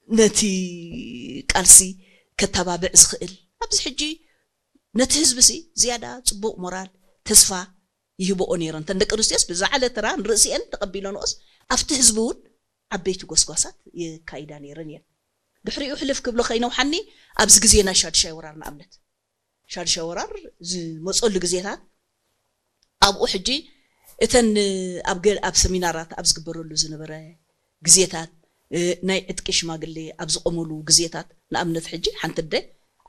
ነቲ ቃልሲ ከተባብዕ ዝኽእል ኣብዚ ሕጂ ነቲ ህዝቢ ሲ ዝያዳ ጽቡቕ ሞራል ተስፋ ይህብኦ ነይረን። እተን ደቂ ኣንስትዮስ ብዝዓለ ተራ ንርእሲኤን ተቐቢለንኦስ ኣብቲ ህዝቢ እውን ዓበይቲ ጎስጓሳት የካይዳ ነይረን እየን። ድሕሪኡ ሕልፍ ክብሎ ከይነውሓኒ ኣብዚ ግዜ ናይ ሻድሻይ ወራር ንኣብነት ሻድሻይ ወራር ዝመፀሉ ግዜታት ኣብኡ ሕጂ እተን ኣብ ገ- ኣብ ሰሚናራት ኣብ ዝግበረሉ ዝነበረ ግዜታት እ፣ ናይ ዕጥቂ ሽማግሌ ኣብ ዝቆመሉ ግዜታት ንኣብነት ሕጂ ሓንቲ ኣደ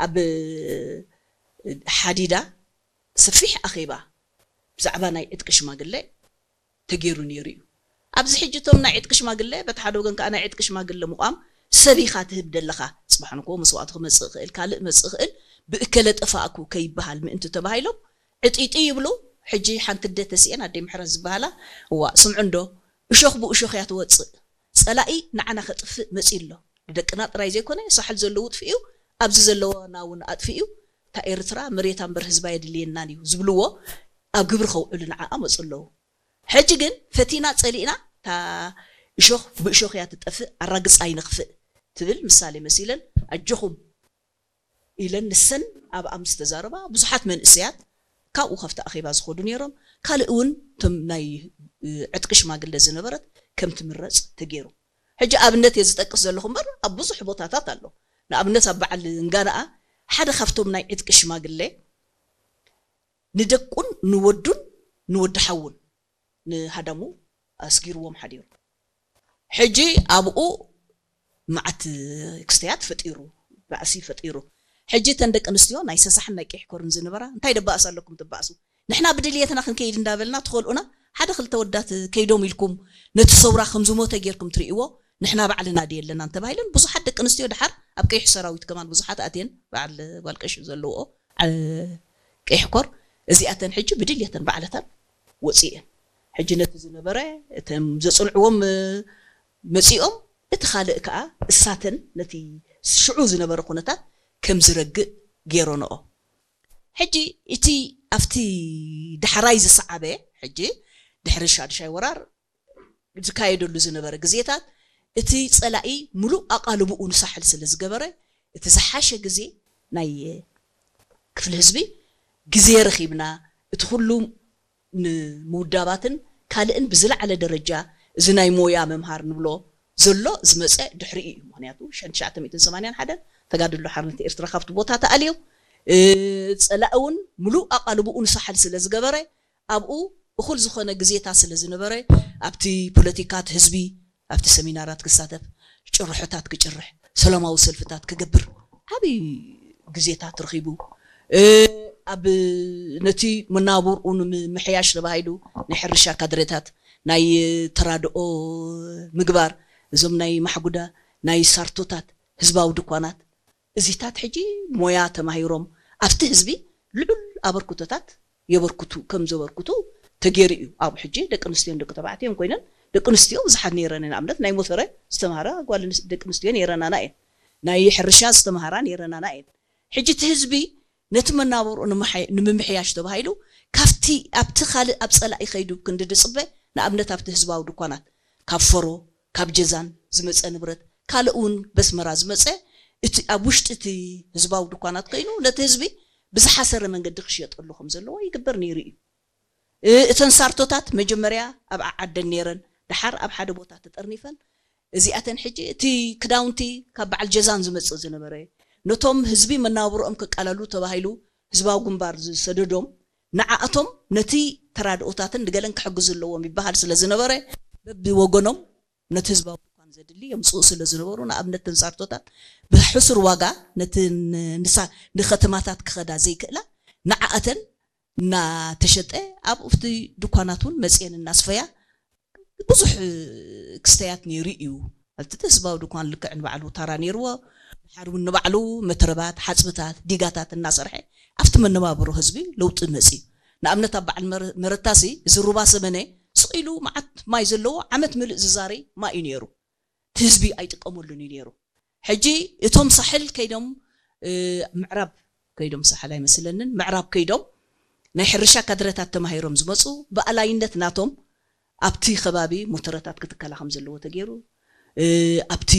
ኣብ እ፣ ሓዲዳ ሰፊሕ ኣኼባ ብዛዕባ ናይ ዕጥቂ ሽማግሌ ተገይሩ ነይሩ እዩ። ኣብዚ ሕጂ እቶም ናይ ዕጥቂ ሽማግለ በቲ ሓደ ወገን ከዓ ናይ ዕጥቂ ሽማግለ ምቋም ሰብ ኢኻ ትህብ ደለኻ። ፅባሕ ንኮ መስዋእቲ ክመፅእ ይኽእል ካልእ መፅእ ይኽእል ብእከለ ጠፋእኩ ከይበሃል ምእንቲ ተባሂሎም ዕጢጢ ይብሉ። ሕጂ ሓንቲ ኣደ ተሲኤን ኣደይ ምሕረት ዝበሃላ እዋ ስምዑ እንዶ እሾኽ ብእሾኽ እያ ትወፅእ። ፀላኢ ንዓና ከጥፍእ መፂኡ ኣሎ። ንደቅና ጥራይ ዘይኮነ ሳሕል ዘለዉ ጥፍኡ ኣብዚ ዘለዋና እውን ኣጥፍኡ እታ ኤርትራ መሬታ እምበር ህዝባ የድልየናን እዩ ዝብልዎ ኣብ ግብሪ ከውዕሉ ንዓኣ መፁ ኣለዉ። ሕጂ ግን ፈቲና ፀሊእና እታ እሾኽ ብእሾኽ እያ ትጠፍእ ኣራግፃ ኣይንኽፍእ ትብል ምሳሌ መሲለን ኣጆኹም ኢለን ንሰን ኣብኣ ምስ ተዛረባ ብዙሓት መንእሰያት ካብኡ ካብቲ ኣኼባ ዝኸዱ ነይሮም። ካልእ እውን እቶም ናይ እ፣ ዕጥቂ ሽማግለ ዝነበረት ከም ትምረፅ ተገይሩ። ሕጂ ኣብነት እየ ዝጠቅስ ዘለኹ እምበር ኣብ ብዙሕ ቦታታት ኣሎ። ንኣብነት ኣብ በዓል እንጋንኣ ሓደ ካብቶም ናይ ዕጥቂ ሽማግለ ንደቁን ንወዱን ንወዲ ሓውን ንሃዳሙ ኣስጊርዎም ሓዲሩ። ሕጂ ኣብኡ መዓት ክስተያት ፈጢሩ ባእሲ ፈጢሩ። ሕጂ እተን ደቂ ኣንስትዮ ናይ ሰሳሕን ናይ ቀይሕ ኮርን ዝነበራ እንታይ ደባእስ ኣለኩም ትባእሱ ንሕና ብድልየትና ክንከይድ እንዳበልና ትኸልኡና ሓደ ክልተ ወዳት ከይዶም ኢልኩም ነቲ ሰውራ ከም ዝሞተ ጌርኩም ትርእይዎ ንሕና ባዕልና ድየለናን ተባሂለን ብዙሓት ደቂ ኣንስትዮ ድሓር ኣብ ቀይሕ ሰራዊት ከማን ብዙሓት ኣትየን በዓል ጓል ቀሺ ዘለውኦ ዓ- ቀይሕ ኮር እዚኣተን ሕጂ ብድልየተን ባዕለተን ወፅእን ሕጂ ነቲ ዝነበረ እቶም ዘፅንዕዎም እ፣ መፂኦም እቲ ካልእ ከዓ እሳተን ነቲ ሽዑ ዝነበረ ኩነታት ከም ዝረግእ ገይረንኦ ሕጂ እቲ ኣብቲ ዳሕራይ ዝሰዓበ ሕጂ ድሕሪ ሻድሻይ ወራር ዝካየደሉ ዝነበረ ግዜታት እቲ ፀላኢ ሙሉእ ኣቓልብኡ ንሳሕል ስለ ዝገበረ እቲ ዝሓሸ ግዜ ናይ ክፍሊ ህዝቢ ግዜ ረኺብና እቲ ኩሉ ንምውዳባትን ካልእን ብዝለዓለ ደረጃ እዚ ናይ ሞያ ምምሃር ንብሎ ዘሎ ዝመፀ ድሕሪኡ እዩ። ምክንያቱ ሸን ትሽዓተ ሚእትን ሰማንያን ሓደን ተጋድሎ ሓርነት ኤርትራ ካብቲ ቦታ ተኣልዮም እ፣ ፀላኢ እውን ሙሉእ ኣቓልብኡ ንሳሕል ስለ ዝገበረ ኣብኡ እኹል ዝኾነ ግዜታት ስለ ዝነበረ ኣብቲ ፖለቲካት ህዝቢ ኣብቲ ሰሚናራት ክሳተፍ ጭርሖታት ክጭርሕ ሰላማዊ ሰልፍታት ክገብር ዓብዪ ግዜታት ረኺቡ እ፣ ኣብ ነቲ መናብርኡ ንምምሕያሽ ተባሂሉ ናይ ሕርሻ ካድሬታት ናይ ተራድኦ ምግባር እዞም ናይ ማሕጉዳ ናይ ሳርቶታት ህዝባዊ ድኳናት እዚታት ሕጂ ሞያ ተማሂሮም ኣብቲ ህዝቢ ልዑል ኣበርክቶታት የበርክቱ ከም ዘበርክቱ ተገይሩ እዩ። ኣብ ሕጂ ደቂ ኣንስትዮን ደቂ ተባዕትዮን ኮይነን ደቂ ኣንስትዮ ብዙሓት ነይረን ንኣብነት ናይ ሞተረ ዝተምሃራ ጓል ኣንስ- ደቂ ኣንስትዮ ነይረናና እየን። ናይ ሕርሻ ዝተምሃራ ነይረናና እየን። ሕጂ እቲ ህዝቢ ነቲ መናበርኡ ንምሓይ- ንምምሕያሽ ተባሂሉ ካብቲ ኣብቲ ካልእ ኣብ ፀላኢ ከይዱ ክንዲ ድፅበ ንኣብነት ኣብቲ ህዝባዊ ድኳናት ካብ ፈሮ ካብ ጀዛን ዝመፀ ንብረት ካልእ እውን በስመራ ዝመፀ እቲ ኣብ ውሽጢ እቲ ህዝባዊ ድኳናት ኮይኑ ነቲ ህዝቢ ብዝሓሰረ መንገዲ ክሽየጠሉ ከም ዘለዎ ይግበር ነይሩ እዩ። እ፣ እተን ሳርቶታት መጀመርያ ኣብ ዓዓደን ነይረን፣ ደሓር ኣብ ሓደ ቦታ ተጠርኒፈን። እዚኣተን ሕጂ እቲ ክዳውንቲ ካብ በዓል ጀዛን ዝመጽእ ዝነበረ፣ ነቶም ህዝቢ መናብሮኦም ከቃለሉ ተባሂሉ ህዝባዊ ግንባር ዝሰደዶም፣ ንዓኣቶም ነቲ ተራድኦታትን ንገለን ክሕግዙ ኣለዎም ይበሃል ስለ ዝነበረ፣ በብወገኖም ነቲ ህዝባዊ ድኳን ዘድሊ የምጽኡ ስለ ዝነበሩ፣ ንኣብነት እተን ሳርቶታት ብሕሱር ዋጋ ነቲ ን- ንሳ- ንከተማታት ክኸዳ ዘይክእላ ንዓኣተን እናተሸጠ ኣብ እቲ ድኳናት እውን መፅኤን እናስፈያ ብዙሕ ክስተያት ነይሩ እዩ። ኣብቲ ህዝባዊ ድኳን ልክዕ ንባዕሉ ታራ ነይርዎ። ድሓር እውን ንባዕሉ መትረባት፣ ሓፅብታት፣ ዲጋታት እናሰርሐ ኣብቲ መነባብሮ ህዝቢ ለውጢ መፅኡ። ንኣብነት ኣብ በዓል መረ- መረታሲ እዚ ሩባ ሰመነ ስቕ ኢሉ መዓት ማይ ዘለዎ ዓመት ምልእ ዝዛሪ ማይ እዩ ነይሩ። እቲ ህዝቢ ኣይጥቀመሉን እዩ ነይሩ። ሕጂ እቶም ሳሕል ከይዶም እ፣ ምዕራብ ከይዶም ሳሕል ኣይመስለንን ምዕራብ ከይዶም ናይ ሕርሻ ካድረታት ተማሂሮም ዝመፁ ብኣላይነት ናቶም ኣብቲ ከባቢ ሞተረታት ክትከላ ከም ዘለዎ ተገይሩ እ፣ ኣብቲ